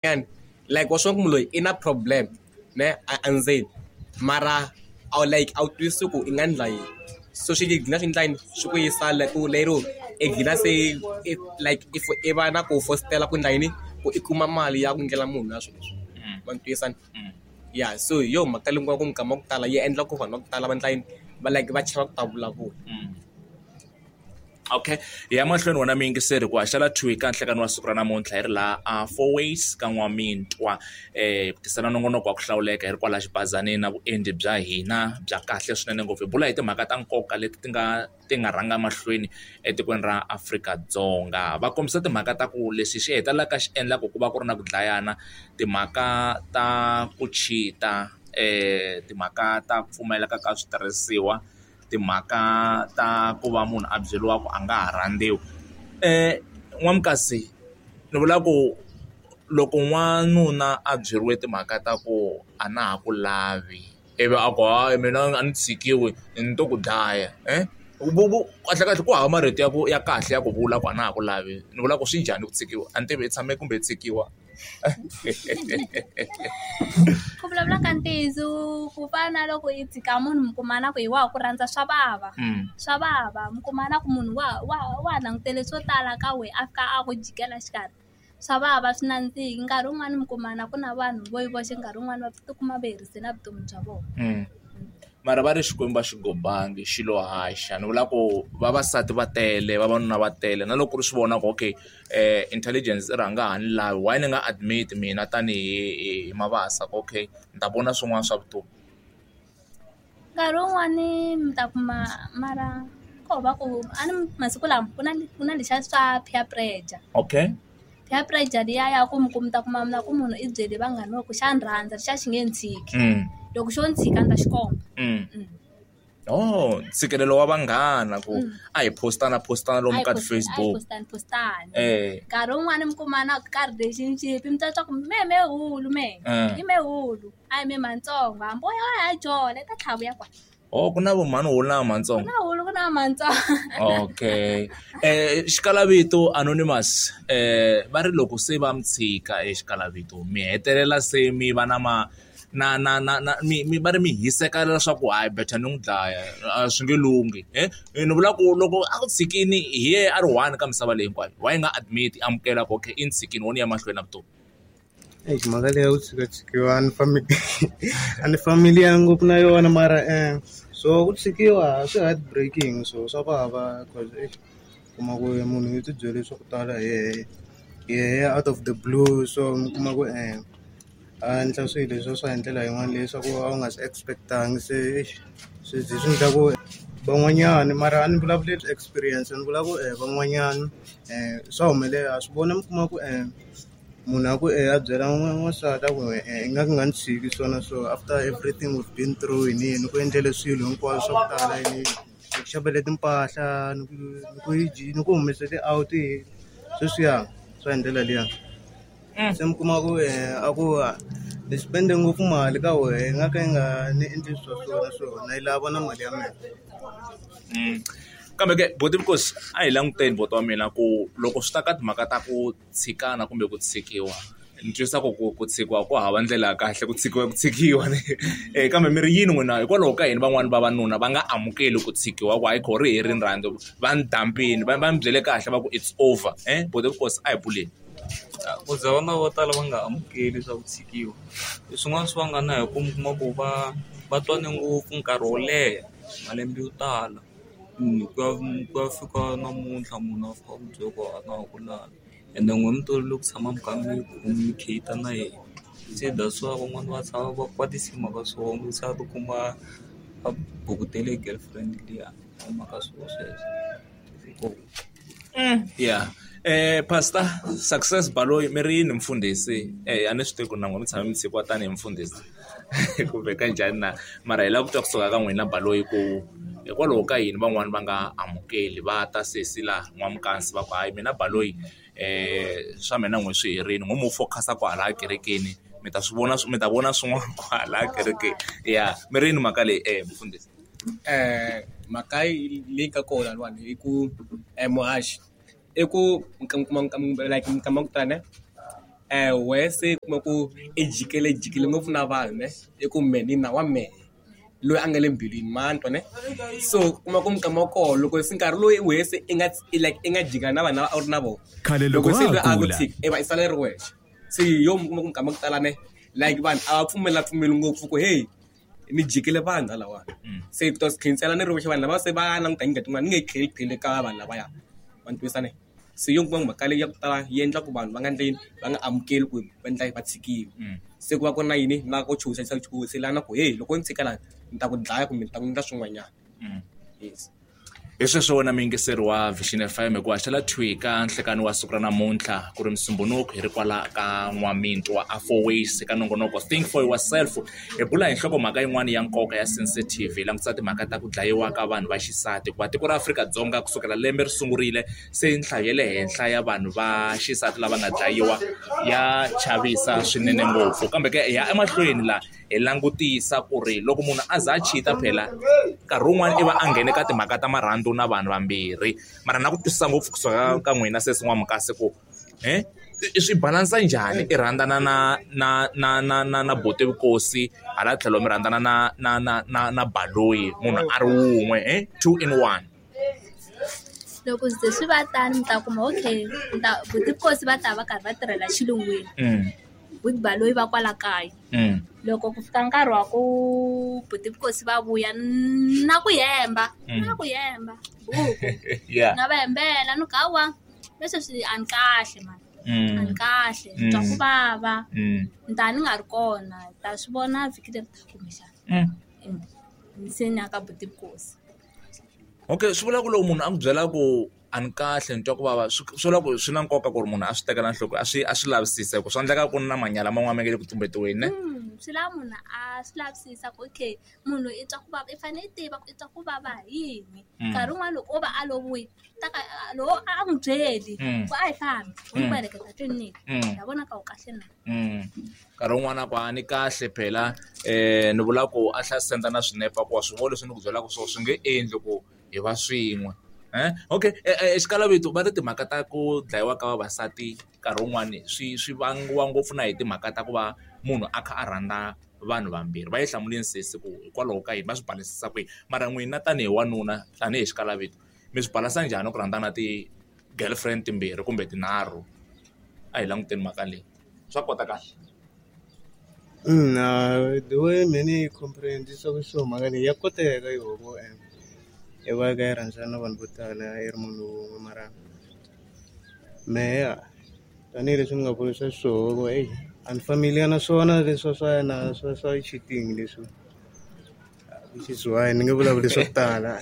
Nyana like wa swi vona ku munhu loyi i na problem ne a endzeni mara a wu like a wu twisisi ku i nga endla yini so swi gcina swi endla yini swi ku yisa ku lero i gcina se i like if i va na ku fositela ku endla yini ku i kuma mali ya ku endlela munhu na swilo leswi ma ni twisisa ya so hi yo mhaka leyi ku mikama ya ku tala yi endla ku vanhu va ku tala va endla yini va like va chava ku ta vulavula. Okay hi ya mahlweni wena muyingiseri ku haxela thwi ka nhlekani wa siku ra namuntlha hi ri laha a four ways ka n'wamintwa ku tisela nongonoko wa ku hlawuleka hi ri kwala xibazanini na vuendli bya hina bya kahle swinene ngopfu hi bula hi timhaka ta nkoka leti ti nga ti nga rhanga mahlweni etikweni ra Afrika-Dzonga va kombisa timhaka ta ku lexi xi hetelelaka xi endlaku ku va ku ri na ku dlayana timhaka ta ku cheat-a timhaka ta ku pfumaleka ka switirhisiwa. Timhaka ta ku va munhu a byeriwa ku a nga ha rhandziwi. N'wamukasi ni vula ku loko n'wanuna a byeriwe timhaka ta ku a na ha ku lavi, ivi a ku hayi mina a ni tshikiwi ni to ku dlaya kahlekahle ku hava marito ya ku ya kahle ya ku vula ku a na ha ku lavi, ni vula ku swi njhani ku tshikiwa? A ni tivi i tshame kumbe i tshikiwa? Ku vulavula ka ntiyiso ku fana na loko i tshika munhu mi kuma na ku hi wa ha ku rhandza swa vava swa vava mi kuma na ku munhu wa wa wa ha langutele swo tala ka wena a fika a ku jikela xikarhi swa vava swi nandziki nkarhi wun'wani mi kuma na ku na vanhu vo yi voxe nkarhi wun'wani va tikuma va herise na vutomi bya vona. Mara va ri Xikwembu a xi gobangi xi lo haxa ni vula ku vavasati va tele vavanuna va tele na loko ku ri swi vona ku okay intelligence i rhanga ha ni lavi why ni nga admit mina tanihi hi Mabasa ku okay ni ta vona swin'wana swa vutomi. Nkarhi wun'wani mi ta kuma mara ko va ku a ni masiku lama ku na ku na lexiya swa peer pressure. Okay. Peer pressure liya ya ku mi ku mi ta kuma na ku munhu i byele vanghana va ku xa ni rhandza lexiya xi nge ni tshiki loko xo ni tshika ni ta xi komba. Oh ntshikelelo wa vanghana ku a hi postana postana lomu ka ti-Facebook. Postani postani. Nkarhi wun'wani mi kuma na ka relationship mi ta twa ku mehe mehulu mehe i mehulu a hi mehe matsongo hambi wo ya wa ha jola i ta tlhela a vuya kwala. Oh ku na vo mhani hulu na matsongo. Ku na hulu ku na matsongo. Okay xikalavito anonymous va ri loko se va mi tshika xikalavito mi hetelela se mi va na ma na na na na mi mi va ri mi hiseka leswaku hayi better ni n'wi dlaya a swi nge lunghi ni vula ku loko a ku tshikini hi yena a ri one ka misava leyi hinkwayo why nga admit amukela ku okay i ni tshikini wo ni ya mahlweni na vutomi. Eish mhaka leyi ya ku tshikatshikiwa a ni a ni familiar ngopfu na yona mara so ku tshikiwa swi heart breaking so swa vava cause eish u kuma ku munhu u ti byele swa ku tala hi yehe yehe out of the blue so mi kuma ku a endla swilo leswiya swa hi ndlela yin'wana leswaku a wu nga swi expect-angi se eish swi ze swi endla ku van'wanyani mara a ni vulavuleli experience ni vula ku van'wanyana swa humelela swi vona mi kuma ku munhu a ku e a byela n'wansati a ku i nga ku nga ni tshiki so na so after everything we've been through yini yini ku endlele swilo hinkwaswo swa ku tala yini ni ku xavele timpahla ni ku ni ku ni ku humesele out sweswiya swa hi ndlela liya se mi kuma ku a ku ni spend-e ngopfu mali ka wehe i nga ka i nga ni endli swa so na so na yi lava na mali ya mina. Kambe ke buti Nkosi a hi languteni buti wa mina ku loko swi ta ka timhaka ta ku tshikana kumbe ku tshikiwa ni twisisa ku ku ku tshikiwa ku hava ndlela ya kahle ku tshikiwa ku tshikiwa kambe mi ri yini n'wina hikwalaho ka yini van'wani vavanuna va nga amukeli ku tshikiwa ku hayi kho ri herini rhandzu va ni dampini va va ni byele kahle va ku it's over buti Nkosi a hi buleni. Ku za vana vo tala va nga amukeli swa ku tshikiwa i swin'wana swi vanga na hi ku mi kuma ku va va twane ngopfu nkarhi wo leha malembe yo tala ku ya ku ya fika namuntlha munhu a fika a ku byela ku a na ha ku lavi ende n'we mi tolovele ku tshama mi kha mi communicate na yena se that's why van'wani va tshama va kwatisa hi mhaka swona se a tikuma a bukutele girlfriend liya hi mhaka swona sweswo. Ya pastor Success Baloyi mi ri yini mfundhisi a ni swi tivi ku na n'wina mi tshame mi tshikiwa tanihi mfundhisi kumbe ka njhani na mara hi lava ku twa kusuka ka n'wina Baloyi ku hikwalaho ka yini van'wani va nga amukeli va ta sesi la n'wamukansi va ku hayi mina Baloyi swa mina n'we swi herile n'we mo focus-a kwalaya kerekeni mi ta swi vona mi ta vona swin'wana kwalaya kerekeni ya mi ri yini mhaka leyi mfundhisi. Mhaka leyi nga kona laniwani i ku muhaxi i ku like minkama ya ku tala ne. Wehe se kuma ku i jikele jikele ngopfu na vanhu ne i ku mehe ni na wa mehe loyi a nga le mbilwini ma ni twa ne so kuma ku minkama wa koho loko se nkarhi lowu wehe se i nga like i nga jika na vanhu lava a wu ri na vona Khale loko loko se wa loyi ha a ku kula. tshika i va i sala i ri wexe se hi yo mi kuma ku minkama ya ku tala ne like vanhu a va pfumela pfumeli ngopfu ku hey ni jikele vanhu halawani se to khinsela ni ri wexe vanhu lava se va languta hi tin'wana ni nge tlheli tlheli ka vanhu lavaya va ni twisisa ne se yo kuma mhaka leyi ya ku tala yi endla ku vanhu va nga endleni va nga amukeli ku va endla va tshikiwa se ku va ku ri na yini na ku chuhisa chuhiselana ku hey loko ni tshika lani ni ta ku dlaya kumbe ni ta ku endla swin'wanyana yes. Hi sweswo wena muyingiseri wa Vision FM hikuva xela thwi ka nhlekani wa siku ra namuntlha ku ri Musumbhunuku hi ri kwala ka N'wamintwa a Four Ways eka nongonoko Think for Yourself hi bula hi nhlokomhaka yin'wana ya nkoka ya sensitive hi langutisa timhaka ta ku dlayiwa ka vanhu va xisati hikuva tiko ra Afrika-Dzonga kusukela lembe ri sungurile se nhlayo ya le henhla ya vanhu va xisati lava nga dlayiwa ya chavisa swinene ngopfu kambe ke hi ya emahlweni la hi langutisa ku ri loko munhu a za a cheat-a phela nkarhi wun'wani i va a nghene ka timhaka ta marhandzu na vanhu vambirhi mara na ku twisisa ngopfu kusuka ka n'wina sesi N'wamukasi ku i swi balansa njhani i rhandzana na na na na na na buti Vukosi hala tlhelo mi rhandzana na na na na na Baloyi munhu a ri wun'we two in one. Loko ze swi va tano mi ta kuma okay mi ta buti Vukosi va ta va karhi va tirhela xilungwini buti Baloyi va kwala kaya loko ku fika nkarhi wa ku buti Vukosi va vuya na ku hemba na ku hemba buku na va hembela ni ku hawa leswi swi a ni kahle mani a ni kahle ni twa ku vava ni ta ni nga ri kona hi ta swi vona vhiki leri taka kumbexana se ni ya ka buti Vukosi. Okay swi vula ku loko munhu a ku byela ku a ni kahle ni twa ku vava swi vula ku swi na nkoka ku ri munhu a swi tekela enhlokweni a swi a swi lavisisa hi ku swa endleka ku na manyala man'wana ma nga le ku tumbetiweni ne. Swi lava munhu a swi lavisisa ku okay munhu i twa ku vava i fanele i tiva ku i twa ku vava hi yini nkarhi wun'wani loko o va a loviwile ta ka loko a n'wi byeli ku a hi fambi u n'wi heleketa tliliniki ya vona ka u kahle na. Nkarhi wun'wani a ku a ni kahle phela ni vula ku a tlhela a senda na swinepe a ku wa swi vona leswi ni ku byelaka swona swi nge endli ku hi va swin'we okay xikalavito va ri timhaka ta ku dlayiwa ka vavasati nkarhi wun'wani swi swi vangiwa ngopfu na hi timhaka ta ku va munhu a kha a rhandza vanhu vambirhi va yi hlamuleni sesi ku hikwalaho ka yini va swi balansisa ku yini mara n'wina tanihi wanuna tanihi xikalavito mi swi balansa njhani ku rhandza na ti-girlfriend timbirhi kumbe tinharhu a hi languteni mhaka leyi swa kotakala. The way mehe ni yi comprehend-isaka xiswona mhaka leyi ya koteka yoho i va i kha i rhandzana na vanhu vo tala i ri munhu wun'we mara mehe tanihileswi ni nga vurisa xiswona ku eyi a ni familiar na swona leswa swa yena swa swa cheating leswi which is why ni nge vulavuli swo tala.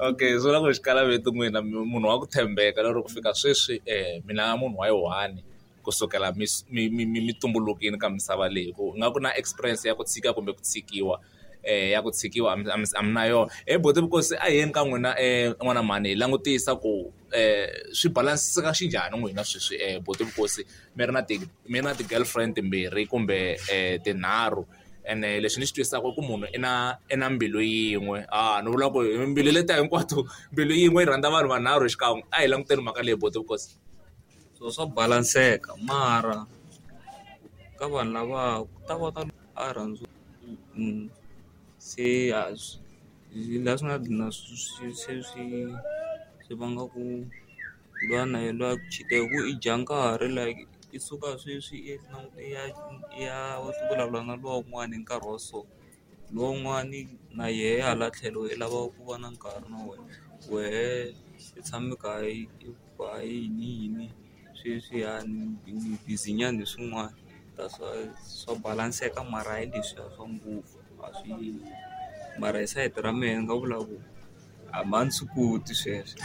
Okay swi vula ku xikalaveto n'wina munhu wa ku tshembeka lero ku fika sweswi mina munhu wa yi one kusukela mi mi mi mi tumbulukile ka misava leyi ku nga ku na experience ya ku tshika kumbe ku tshikiwa ya ku tshikiwa a mi na yona he buti Vukosi a hi yeni ka n'wina n'wana mhani hi langutisa ku swi balansiseka xinjhani n'wina sweswi buti Vukosi mi ri na ti mi ri na ti-girlfriend timbirhi kumbe tinharhu ene lexi ni xi twisisaka i ku munhu i na i na mbilu yin'we a ni vula ku mbilu letiya hinkwato mbilu yin'we yi rhandza vanhu vanharhu xikan'we a hi languteni mhaka leyi buti Vukosi. So swa balanseka mara ka vanhu lava ku ta va na a rhandza se a swi laha swi nga dlina swi se swi swi vanga ku luya na yena luya ku cheat-a hi ku i dya nkarhi like i suka sweswi i ya i ya vulavula na luwa un'wana hi nkarhi wa so luwa un'wani na yehe hala tlhelo i lava ku va na nkarhi na wena wehe i tshame kha i ku yini yini sweswiya ni busy nyana hi swin'wana that's why swa balanseka mara hayi leswiya swa ngopfu a swi mara hi sayiti ra mehe ni nga vula ku a ni swi koti sweswo.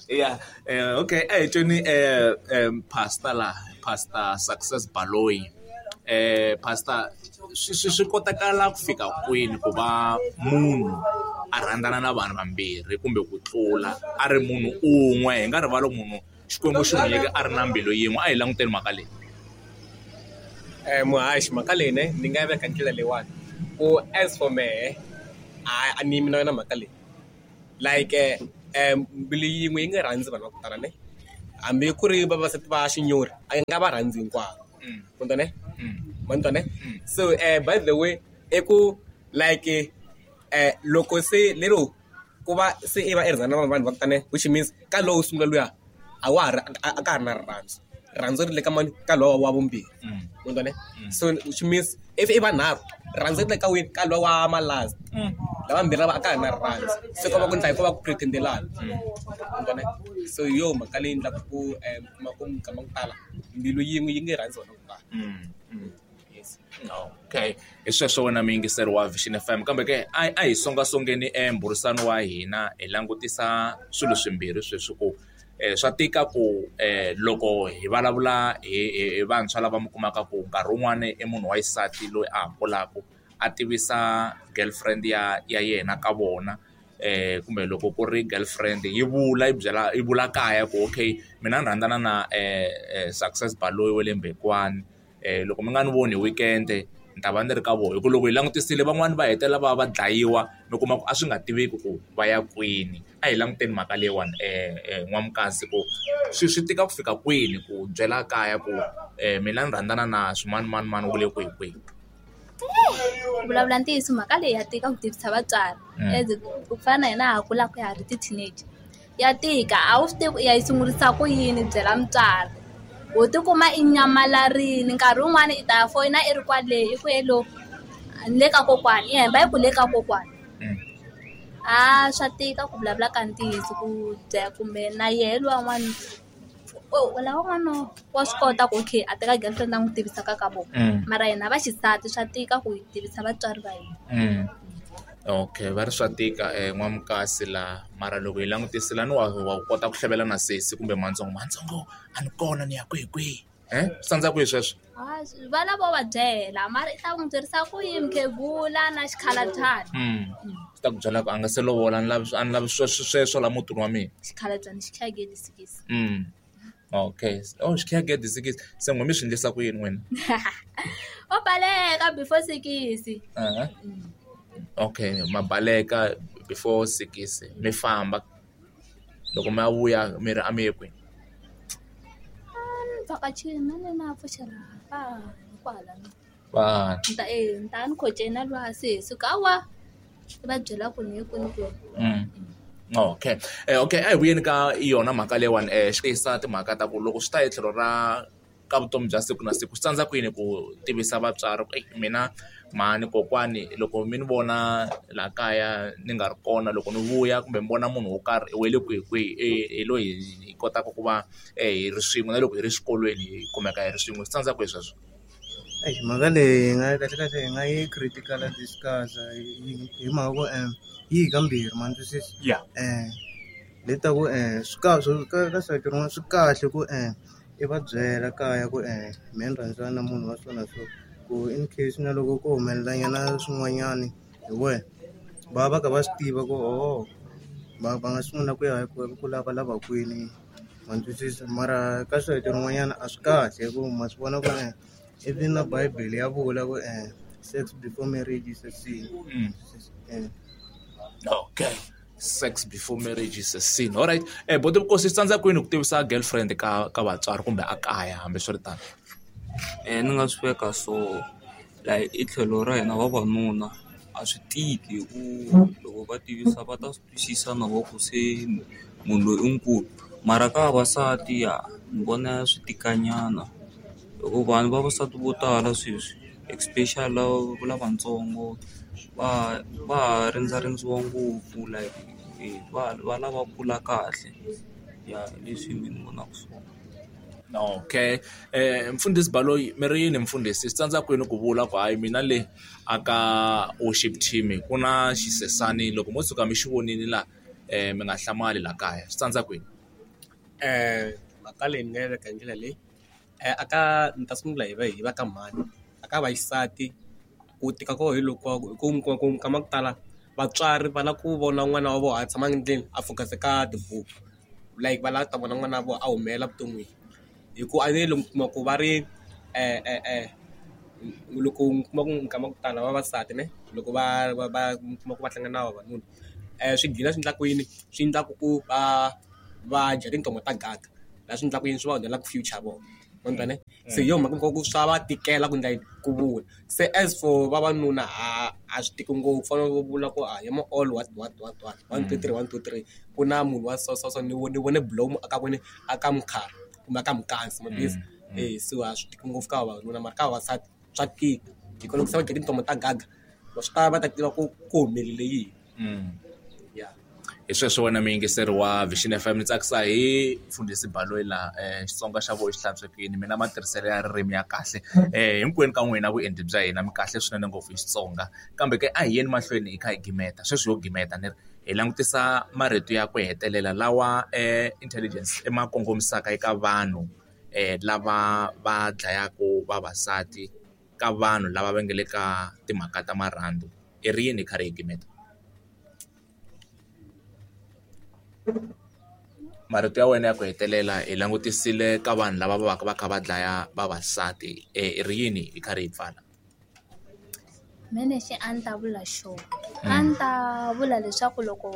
Ya okay a hi tweni pastor la pastor Success Baloyi pastor swi swi swi kotakala ku fika kwini ku va munhu a rhandzana na vanhu vambirhi kumbe ku tlula a ri munhu un'we hi nga rivali munhu Xikwembu xi n'wi nyike a ri na mbilu yin'we a hi languteni mhaka leyi. Muhaxi mhaka leyi ne ni nga yi veka hi ndlela leyiwani ku as for mehe a ni yimi na yona mhaka leyi like mbilu yin'we yi nga rhandzi vanhu va ku tala ne Hambi ku ri vavasati va xinyori a nga va rhandzi hinkwavo. Ma ni twa ne? So by the way i ku like loko se lero ku va se i va i rhandzana na vanhu va ku tani which means ka lowo sungula luya a wa ha ri a ka ha ri na rirhandzu. Rirhandzu ri le ka mani ka lowa wa vumbirhi. Ma ni twa ne? So which means if i vanharhu rirhandzu ri le ka wini ka lowa wa ma-last. Lavambirhi lava a ka ha ri na rirhandzu se ko va ku endla ko va ku pretendelana. Ma ni twa ne? So hi yo mhaka leyi endlaka ku mi kuma ku minkama ya ku tala mbilu yin'we yi nge rhandzi vanhu va ku tala. Yes. Okay hi sweswo wena muyingiseri wa Vision F_M kambe ke a hi songasongeni mbhurisano wa hina hi langutisa swilo swimbirhi sweswi ku swa tika ku loko hi vulavula hi vantshwa lava mi kumaka ku nkarhi wun'wani i munhu wa xisati loyi a ha kulaka a tivisa girlfriend ya yena ka vona kumbe loko ku ri girlfriend yi vula yi byela yi vula kaya ku okay mina ni rhandzana na Success Baloyi wa le Mbekwana loko mi nga ni voni hi weekend ni ta va ni ri ka vona hi ku loko hi langutisile van'wani va hetelela va va dlayiwa mi kuma ku a swi nga tiveki ku va ya kwini a hi languteni mhaka leyiwani N'wamukasi ku swi tika ku fika kwini ku byela kaya ku mina ni rhandzana na swimanimani wa le kwihi kwihi. Ku vulavula ntiyiso mhaka leyi ya tika ku tivisa vatswari as ku fana na hina ha kulaka ha ha ri ti-teenager ya tika a wu swi tivi ku i ya yi sungurisa ku yini byela mutswari ho tikuma i nyamalarile nkarhi wun'wani i ta foyina i ri kwale i ku hello ni le ka kokwani i hemba i ku le ka kokwani a swa tika ku vulavula ka ntiyiso ku kumbe na yehe luwa n'wana lavan'wana wa swi kota ku okay a teka girlfriend a n'wi tivisa ka ka vona mara hina vaxisati swa tika ku hi tivisa vatswari va hina. Okay va ri swa tika N'wamukasi la mara loko hi langutisile a ni wa kota ku hlevela na sesi kumbe matsongo matsongo a ni kona ni ya kwihi kwihi swi tsandza kwihi sweswo? Va lava va byela mara i ta n'wi byerisa ku yini mukhegula na xikhalabyana. Swi ta ku byela ku a nga se lovola a ni lavi a ni lavi sweswo la mutini wa mina. Xikhalabyana xi khiya gede sikisi. Okay oh xi khiya gede sikisi se n'we mi swi endlisa ku yini n'wina? O baleka before sikisi. Okay ma baleka before sikisi mi famba loko mi ya vuya mi ri a mi ye kwini? Ni vhakachile na na pfuxela kwala. Ni ta ni ta ni khoceni na luya sesi ku hawa i va byela ku ni ye kwini kwini. Okay okay a hi vuyeni ka yona mhaka leyiwani xi timhaka ta ku loko swi ta hi tlhelo ra ka vutomi bya siku na siku swi tsandza ku yini ku tivisa vatswari ku mina mhani kokwani loko mi ni vona laha kaya ni nga ri kona loko ni vuya kumbe mi vona munhu wo karhi i wele kwihi kwihi hi loyi hi kotaka ku va hi ri swin'we na loko hi ri xikolweni hi kumeka hi ri swin'we swi tsandza kwihi sweswo? Mhaka leyi hi nga kahle kahle hi nga yi critical discuss hi mhaka ku yi hi kambirhi ma ni twisisa? Le ta ku swi kahle ka sayiti rin'wana swi kahle ku i va byela kaya ku mehe ni rhandzana na munhu wa so na so ku in case na loko ko humelela nyana swin'wanyani hi wena va va kha va swi tiva ku oho va va nga sungula ku ya ku lavalava kwini ma ni twisisa mara ka sayiti rin'wanyana a swi kahle hi ku ma swi vona ku even na bibele ya vula ku sex before marriage is a sin. Okay sex before marriage is a sin. All right boti Vukosi swi tsandza kwini ku tivisa girlfriend ka ka vatswari kumbe a kaya hambi swi ri tano? Ni nga swi veka so like i tlhelo ra hina vavanuna a swi tiki hi ku loko va tivisa va ta swi twisisa na vo ku se munhu loyi i nkulu mara ka vavasati ya ni vona swi tika nyana hikuva vanhu vavasati vo tala sweswi especially lava lavatsongo va va ha rindzarindziwa ngopfu like va va lava kula kahle ya leswi mina ni vonaka swona. Okay mfundhisi Baloyi mi ri yini mfundhisi swi tsandza kwini ku vula ku hayi mina le a ka worship team ku na xisesani loko mo tshuka mi xi vonile la mi nga hlamali la kaya swi tsandza kwini? Mhaka leyi ni nga yi veka hi ndlela leyi a ka ni ta sungula hi va hi va ka mhani a ka vaxisati ku tika ko hi loko hi ku mi kuma ku minkama ya ku tala vatswari va lava ku vona n'wana wa vona a tshama ndlwini a focus ka tibuku like va lava ku ta vona n'wana wa vona a humelela vuton'wini hi ku a ne loko kuma ku va ri loko mi kuma ku minkama ya ku tala vavasati ne loko va va va mi kuma ku va hlangana na vavanuna swi gcina swi endla ku yini swi endlaku ku va va dya tintonga ta gaga. Laha swi endlaka yini swi va onhela future ya vona. Ma ni twa ne? Se hi yo mhaka ku swa va tikela ku endla yini ku vula. Se as for vavanuna a a swi tiki ngopfu fanele u vula ku a hi ma all what what what what one two three one two three ku na munhu wa so so so ni ni vone bulomu a ka kwini a ka mukhala kumbe a ka mukhansi ma twisisa e so a swi tiki ngopfu ka vavanuna mara ka vavasati swa tika hi ku loko se va dya tintomo ta gaga va swi ta va ta tiva ku ku humelele yini ya. Hi sweswo wena muyingiseri wa Vision FM ni tsakisa hi mfundhisi Baloyi laha Xitsonga xa vona xi hlantswekile mina matirhiselo ya ririmi ya kahle hinkwenu ka n'wina vuenti bya hina mi kahle swinene ngopfu hi Xitsonga kambe ke a hi yeni mahlweni hi kha hi gimeta sweswi ho gimeta ni ri hi langutisa marito ya ku hetelela lawa intelligence i ma kongomisaka eka vanhu lava va dlayaka vavasati ka vanhu lava va nga le ka timhaka ta marhandzu i ri yini hi karhi hi gimeta marito ya wena ya ku hetelela hi langutisile ka vanhu lava va va ka va kha va dlaya vavasati i ri yini hi karhi hi pfala. Mehe lexi a ni ta vula xona a ni ta vula leswaku loko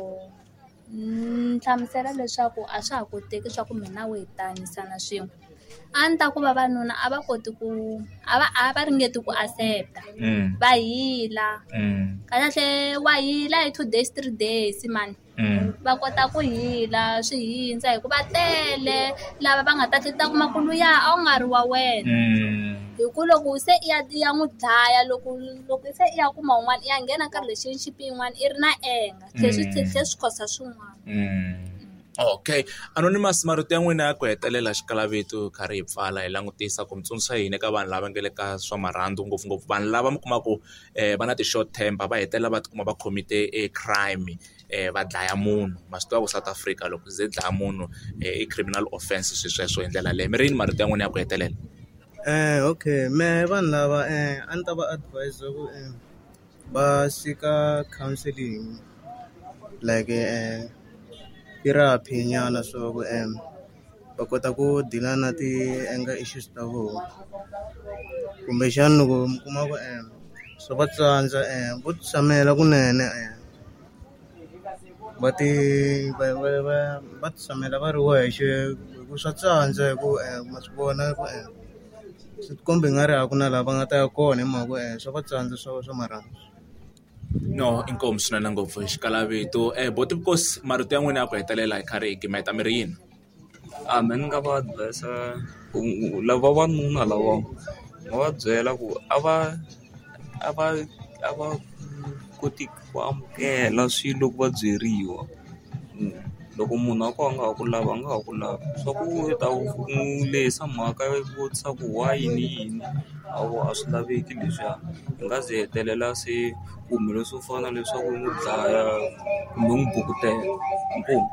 ni hlamusela leswaku a swa ha koteki swa ku mina na wehe hi ta hanyisana swin'we a ni ta ku vavanuna a va koti ku a va a va ringeti ku accept-a va hila kahlekahle wa hila hi two days three days mani va kota ku hila swi hindza hi ku va tele lava va nga ta ta kuma ku luya a wu nga ri wa wena hi ku loko se i ya i ya n'wi dlaya loko loko se i ya kuma un'wana i ya nghena ka relationship yin'wana i ri na anger tlhe swi tlhe swi cause swin'wana. Okay anonymous marito ya n'wina ya ku hetelela xikalavito karhi hi pfala hi langutisa ku mi tsundzuxa yini eka vanhu lava nga le ka swa marhandzu ngopfungopfu vanhu lava mi kuma ku va na ti-short temper va hetelela va tikuma va khomite e crime va dlaya munhu ma swi tiva ku South Africa loko ze dlaya munhu i criminal offense swi sweswo hi ndlela leyo mi ri yini marito ya n'wina ya ku hetelela. Okay mehe vanhu lava a ni ta va advise ku va seek-a counselling like therapy nyana so ku va kota ku deal-a na ti-anger issues ta vona kumbexana loko mi kuma ku swa va tsandza vo tshamela kunene va ti va va va va tshamela va ri wexe hi ku swa tsandza hi ku ma swi vona ku swi tikomba i nga ri a ku na laha va nga ta ya kona hi mhaka ku swa va tsandza swa swa marhandzu. No inkomu swinene ngopfu hi xikalavito boti Vukosi marito ya n'wina ya ku hetelela hi karhi hi gimeta mi ri yini. A me ni nga va advise ku lava vavanuna lava nga va byela ku a va a va a va koti ku amukela swilo loko va byeriwa loko munhu a ku a nga ha ku lavi a nga ha ku lavi swa ku u ta n'wi lehisa mhaka yo vutisa ku why yini yini a a swi laveki leswiya hi nga ze hetelela se ku humelele swo fana na leswaku u n'wi dlaya kumbe u n'wi bukutela inkomu.